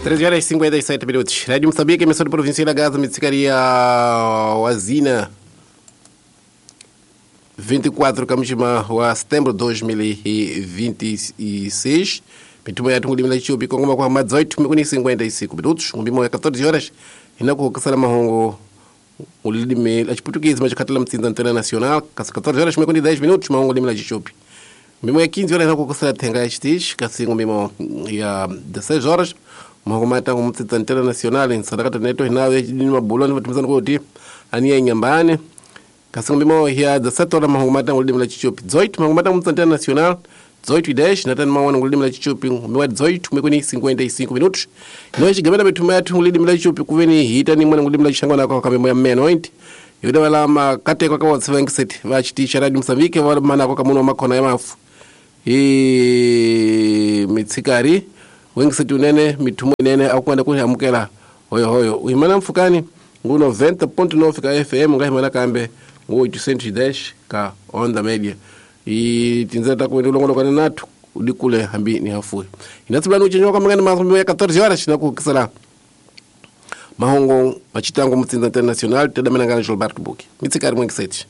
13 horas e 57 minutos. Rádio Moçambique, emissora provincial da Gaza, Mitsikaria Wazina. 24 kamjima wa setembro 2026. Mitumo ya tungu limila chupi kongoma kwa 18 mikuni 55 minutos. Ngumbimo ya 14 horas inakuhokesela mahongo ulilimi la chiputukizi machikhatela mtsinza antena nacional kasi 14 horas mikuni 10 minutos mahongo limi la chichupi. Ngumbimo ya 15 horas inakuhokesela thenga ya chitichi kasi ngumbimo ya 16 horas mahongo matango mtsinza antena nacional nsadakata neto hinawe ni mabuloni vatumizana kuti aniya inyambane kasi ngumbimo ya 17 horas mahongo matango ulilimi la chichupi 18 mahongo matango mtsinza antena nacional 18:10 natani mawana ngulilimi la chichupi ngumiwa 18 mekuni 55 minutos ino chigamela mithuma yathu ngulilimi la chichupi kuveni hita ni mwana ngulilimi la chishangwana kwa kamemo ya mmeno 20 yuda wala makateko ka watsevengiset va chiticha radio Mozambique va manako kamuno makhona ya mafu i mitsikari wengiset unene mithumo inene akuenda kuhamukela hoyo hoyo uhimana mfukani ngu 90.9 ka FM ngahimana kambe ngu 810 ka onda media i tinzela ta kuenda ulongolokana nathu udikule hambi ni hafuwe inatsibulani uchenjwa kwa mangani mazumbi ya 14 horas na kuhukisela mahongo machitango mutsinza international tedamenangana Gilberto Buki mitsikari mwengiseti.